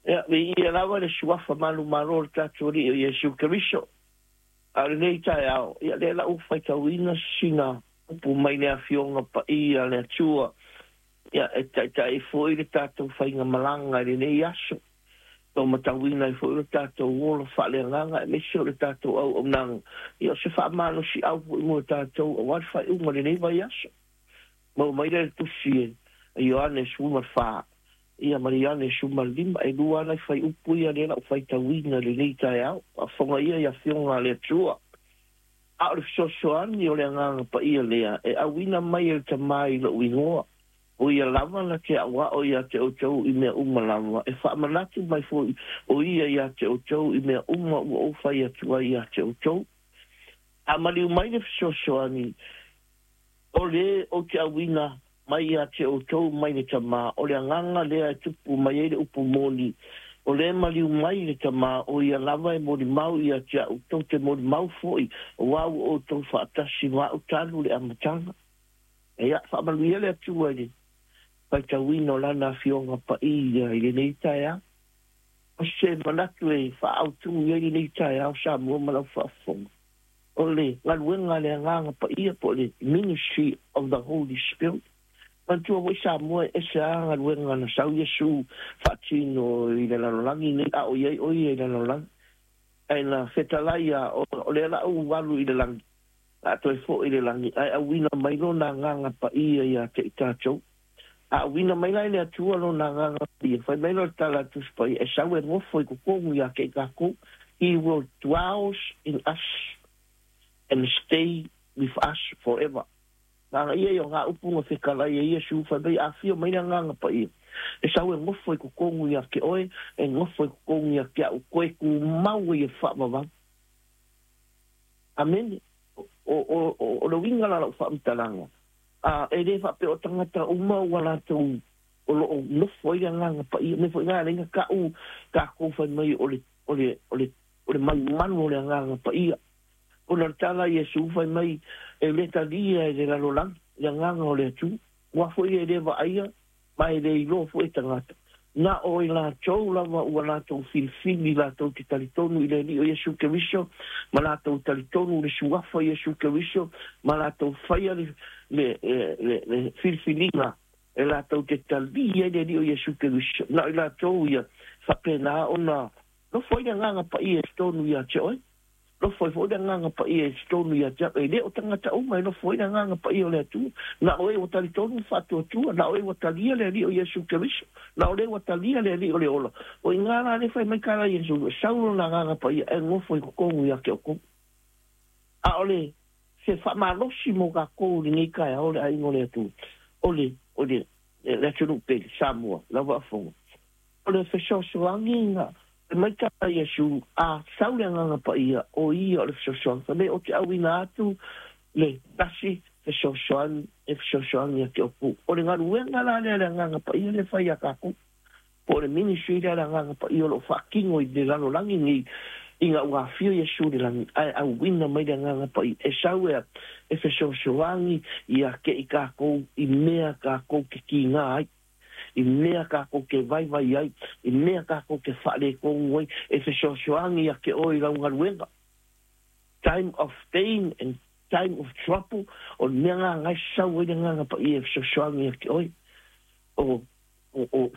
Ia, viia lava le Suafa manumalo o le tatou Alii o Iesu Keriso. A o lenei taeao, ia lea la ua faitauina sina upu mai le Afioga Paia a le Atua, ia e taitai foi le tatou faigamalaga i lenei aso. Ua matauina ai foi lo tatou ola faaleagaga aemaise o le tatou auaunaga, ia o se faamalosiau foi mo tatou aua le faaiuga o lenei vaiaso. Maua mai lea i le Tusi a Ioane 14, ia ma le Ioane 15, e lua lava nai fuaiupu ia lea la ua faitauina i lenei taeao. Faafofoga ia i Afioga a le Atua. A o le fesoasoani o le Agaga Paia lea e auina mai e le Tama i lou igoa, o ia lava na te aʻoaʻo iā te ʻoutou i mea uma lava, e faamanatu mai foi ʻo ia iā te ʻoutou i mea uma ua ou fai atu ai iā te ʻoutou. A maliu mai le fesoasoani, o le ou te auina mai ia te outou mai le Tama, o le Agaga lea e tupu mai ai le upu moni, o le maliu mai i le Tama, o ia lava e molimau ia te a'u, tou te molimau foi, auā ua outou faatasi ma a'u talu le amataga. Ia, faamanuia le Atua i le faitauina o Lana Afioga Paia i lenei taeao. O se manatu e faaautu i ai lenei taeao Samoa ma lau faafofoga, o le galuega a le Agaga Paia po o le Ministry of the Holy Spirit. Manatua foi Samoa e ese lava galuega na sau Iesu faatino i le lalolagi nei a o i ai ʻo ia i le lalolagi. Ae na fetalai ia o lea la ua alu i le lagi, a toe foi i le lagi, ae auina mai lona Agaga Paia ia te i tatou. A auina mai la e le Atua lona Agaga Paia, fai mai loa le tala a le Tusi Paia, e sau e nofo i totonu ia te i tatou, He will dwells in us and stay with us forever. Nāna ia i o ngā upu na fetalai e Iesu, fai mai, Afio mai le Agaga Paia, e sau e nofo i totonu ia te oe, e nofo i totonu ia te a'u, toe tumau ai e faavavau. Amene. O, o, o, o le uiga la o lau faamatalaga, a, e le faapea o tagata uma ua latou o lo o nofo ai le Agaga Paia. Mea foi na e ala ai ona ta'u tatou fai mai o le, o le, o le, o le manumanu o le Agaga Paia. Ona o le tala a Iesu fai mai, e le talia e le lalolagi le Agaga o le Atua, aua foi e le vaaia ma e le iloa foi e tagata. Na o i latou lava ua latou filifili latou te talitonu i le Alii o Iesu Keriso, ma latou talitonu i le Suafa o Iesu Keriso, ma latou faia le, le, le, le filifiliga e latou te talia ai le Alii o Iesu Keriso. Na o i latou ia faapena ona nofo ai le Agaga Paia i totonu ia te oe. Nofo ai foi le Agaga Paia i totonu ia te au, e le o tagata uma e nofo ai le Agaga Paia o le Atua. Na o e ua talitonu ma faatuatua, na o e ua talia le Alii o Iesu Keriso, na o le ua talia le Alii o le ola. O i ina la lea fai mai tala Iesu, e sau lona Agaga Paia e nofo i totonu ia te outou. A o le se faamalosi mo tatou i lenei taeao le aiga o le Atua, o le, o le, le atunuu pele, Samoa, lau faafofoga. O le fesoasoani Fai mai tā Iesu, A sau le Agaga Paia, o ia o le fesoasoani. Fai mai, Ou te auina atu le tasi fesoasoani e fesoasoani ia te outou. O le galuega la lea a le Agaga Paia lea e fai ia tatou, po o le ministry lea a le Agaga Paia o lo o faatino i le lalolagi nei, ina ua afio Iesu i le lagi, ae auina mai le Agaga Paia e sau e e fesoasoani ia te i tatou i mea tatou te tiga ai. I mea kākou ke vaivai ai, i mea kākou ke faaletonu ai, e fesoasoani ia te oe i lau galuega. Time of pain and time of trouble, o le mea lena na e sau ai le Agaga Paia e fesoasoani ia te oe. O, o, o.